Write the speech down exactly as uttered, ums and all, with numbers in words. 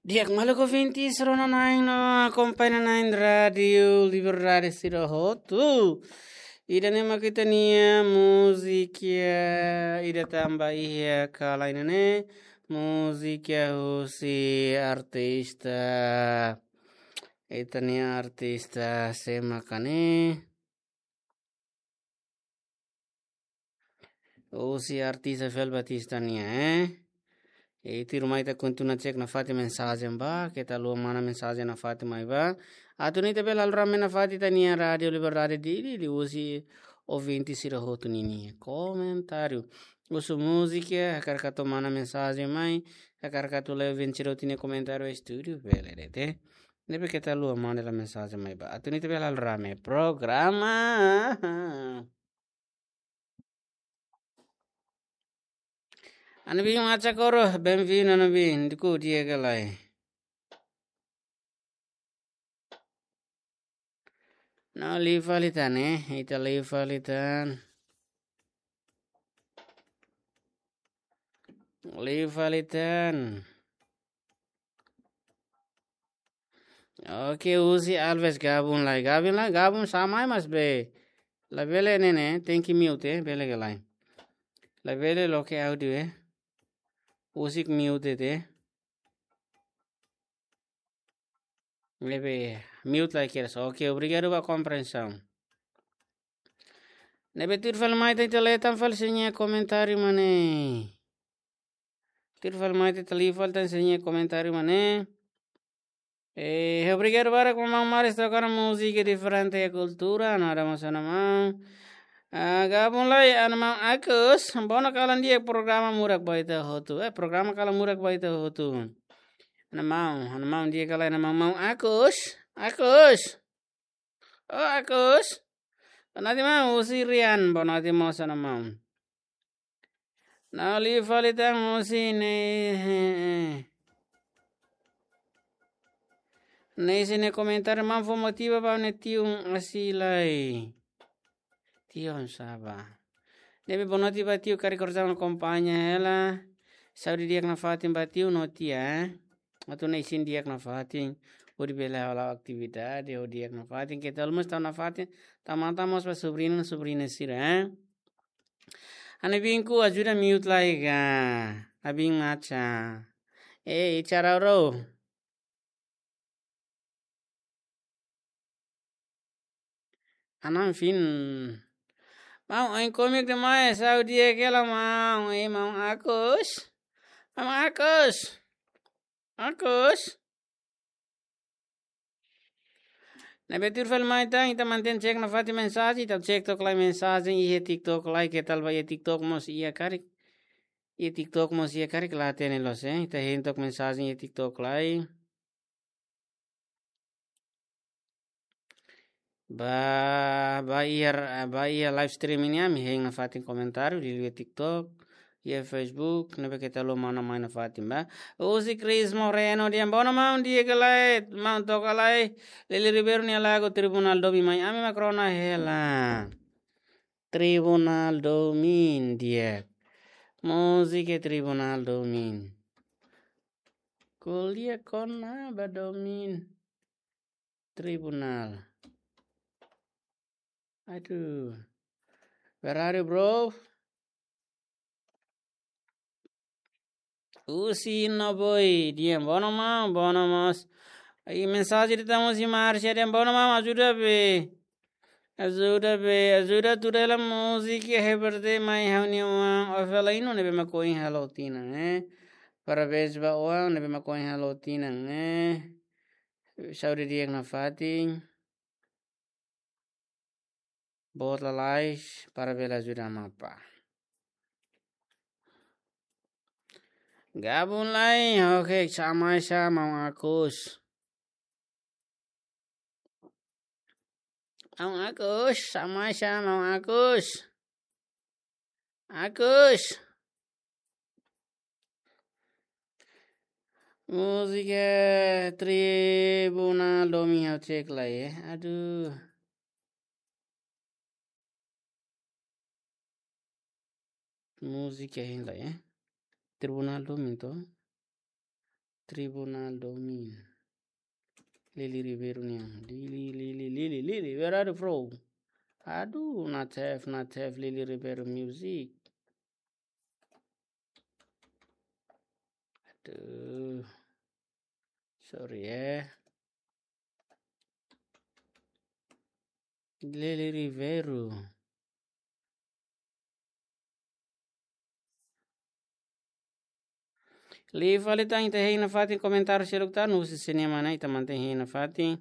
Di'ak, maluk ouvintes rona-na'in no akompaña-na'in Rádiu Liberdade sira hotu. Ida-ne'e mak ita-nia múzika ida tan ba iha kala ida-ne'e, múzika husi artista, ita-nia artista sé maka ne'e? Husi artista Fel Batista nian, eh? E tuirmai ita kontinua cek nafatin mensajen ba, keta haluha manda mensajen nafatin mai ba. Atu nune'e ita bele halo rame nafatin ita-nia Rádiu Liberdade Dili, liuhusi ouvinte sira hotu ninia komentáriu. Husu múzika, hakarak atu manda mensajen mai, hakarak atu lori ouvinte sira hotu nia komentáriu estúdiu, bele de'it, eh? Ne'ebé keta haluha manda mensajen mai ba. Atu nune'e ita bele halo rame programa. Ana Bin, macha koro, bem-vindo, Ana Bin, dukur di'ak ka lae? No, liu fali tan, eh, ita liu fali tan. Liu fali tan. Oke, husi Alves gabung lai. Gabung lai, gabung sá mai, mas be. Labele ne'e ne'e, tenke mute, eh, bele ka lae? Labele loke áudiu, eh. Husik mute, eh. Ne'ebé, mute lai kedas. Oke, obrigadu ba komprensaun. Ne'ebé tuir fali mai tan, ita lee tan fali sira-nia komentáriu mak ne'e. Tuir fali mai tan, ita lee fali tan sira-nia komentáriu mak ne'e. Eh, obrigadu barak maun Maris toka ona múzika diferente iha kultura, no ada masalah maun. Ah, gabung lai, ana maun Agus, bona kalan di'ak programa murak ba ita hotu. Eh, programa kalan murak ba ita hotu. Ana maun, ana maun di'ak ka lae, ana maun, maun Agus, Agus. Oh, Agus. Bonoti maun, husi Rian, bonoti mós ana maun. No liu fali tan husi ne'e. Ne'e sira-nia komentáriu, maun fó motiva ba ne'e tiu asi lai. Tiu saba. Ne'ebé bonoti ba tiu karik orsida akompaña hela. Saúde di'ak nafatin ba tiu no tia, eh. Atu nune'e isin di'ak nafatin. Hodi bele hala'o atividade, hodi di'ak nafatin. Keta haluha mós tau nafatin. Tau matan mós ba sobriñu, sobriña sira, eh. Ana Bin, ku ajuda mute lai ka. Ana Bin macha. Eh, icara ro. Ana Bin. Maun, oin kómiku demais, saúde di'ak ka lae maun, eh, maun Agus. Maun Agus. Agus. Ne'ebé tuir fali mai tan, ita mantein cek nafatin mensajen, ita cek took lai mensajen iha TikTok lai, keta haluha ba iha TikTok mós iha karik. Iha TikTok mós iha karik la hatene loos, eh. Ita hein took mensajen iha TikTok lai. Ba, ba iha, ba iha live streaming ne'e ami hein nafatin komentáriu, liuliu iha TikTok, iha Facebook, ne'ebé keta haluha manda mai nafatin ba. Husi Chris Moreno dehan, bona maun, di'ak ka lae, maun toka lai, Lili Ribeiro nia lagu Tribunál Domin mai, ami mak rona hela. Tribunál Domin di'ak. Múzika Tribunál Domin. Ko'alia kona-ba domin. Tribunál. Aduh. Where are you, bro? Husi Noboi, dehan bona maun, bona mós. Ai, mensajen ida tan husi Márcia, dehan bona maun, ajuda be. Ajuda be, ajuda tuda hela múzika iha Heber Day mai ha'u-nia oan Ovelino ne'ebé mak ohin halo tinan, eh. Parabéns ba oan ne'ebé mak ohin halo tinan, eh. Saúde di'ak nafatin. Boot lalais para bele ajuda Amapá. Gabung lai, oke, sá mai sá, maun Agus. Maun Agus, sá mai sá, maun Agus. Agus. Múzika Tribunál Domin ha'u cek lai, eh. Aduh. Múzika hein lai, eh. Tribunál Domin to. Tribunal Domin. Lili Ribeiro nian. Lili, Lili, Lili, Lili. Where are you, bro? Aduh, not have, not have Lili Ribeiro music. Aduh. Sorry, eh. Lili Ribeiro. Liu fali tan, ita hein nafatin komentáriu seluk tan, husi sira-nia mana, ita mantein hein nafatin.